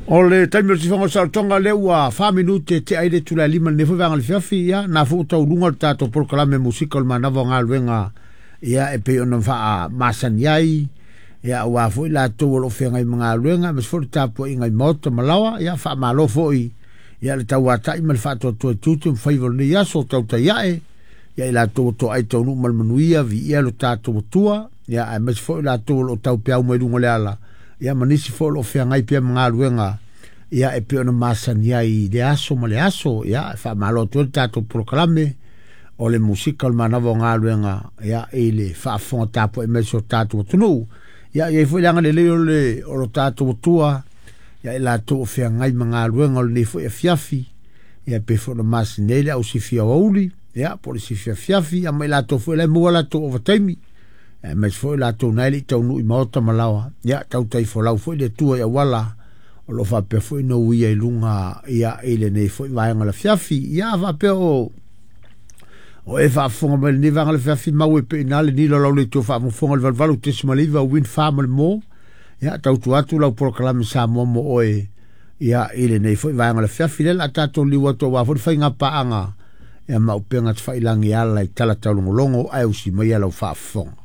O le taimi o le tifaga o le saolotoga lea ua 4 minute tea ai le itula e 5 i lenei foi vaega o le afiafi. Ia, na foi ua taualuga le tatou polokalame musika o le manava o galuega, ia, e pei ona faamasani ai, ia, aua foi latou o lo o feagai ma galuega, aemaise foi le tapuaiga i maota ma laoa. Ia, faamalo foi, ia, le tauata'i ma le faatoatoa i tiute ma faiva o lenei aso tautai a'e, ia, i latou ua toai taunuu ma le manuia, viia lo tatou Atua, ia, aemaise foi latou o lo o taupeau mai luga o le ala, ia, ma nisi foi o lo o feagai pea ma galuega, ia, e pei ona masani ai i le aso ma le aso. Ia, faamalo atu ai le tatou polokalame o le musika o le manava o galuega, ia, i le faafofoga tapuai mai si o tatou atunuu. Ia, i ai foi le agalelei o lo tatou Atua, ia, i latou o feagai ma galuega o lenei foi afiafi, ia, pei foi ona masani ai le au sifi aoauli, ia, po o le sifi afiafi, ia, ma i latou foi la e maua latou ovataimi, aemaise foi latou na e le i taunuu i maota ma laoa. Ia, tautai folau foi le Atua i auala o lo o faapea foi ona uia i luga, ia, i lenei foi vaega o le afiafi. Ia, faapea o e faafofoga mai lenei vaega o le afiafi, mau e pei ina le nilo lau le tou faafofoga le 88.9 Wind Farm le mo. Ia, tautua atu lau polokalame Samoa mo oe, ia, i lenei foi vaega o le afiafi lea la tatou liu atu aua foi le faiga paaga, ia, ma upega tafailagi ala i tala taulogologo ae usi mai lau faafofoga.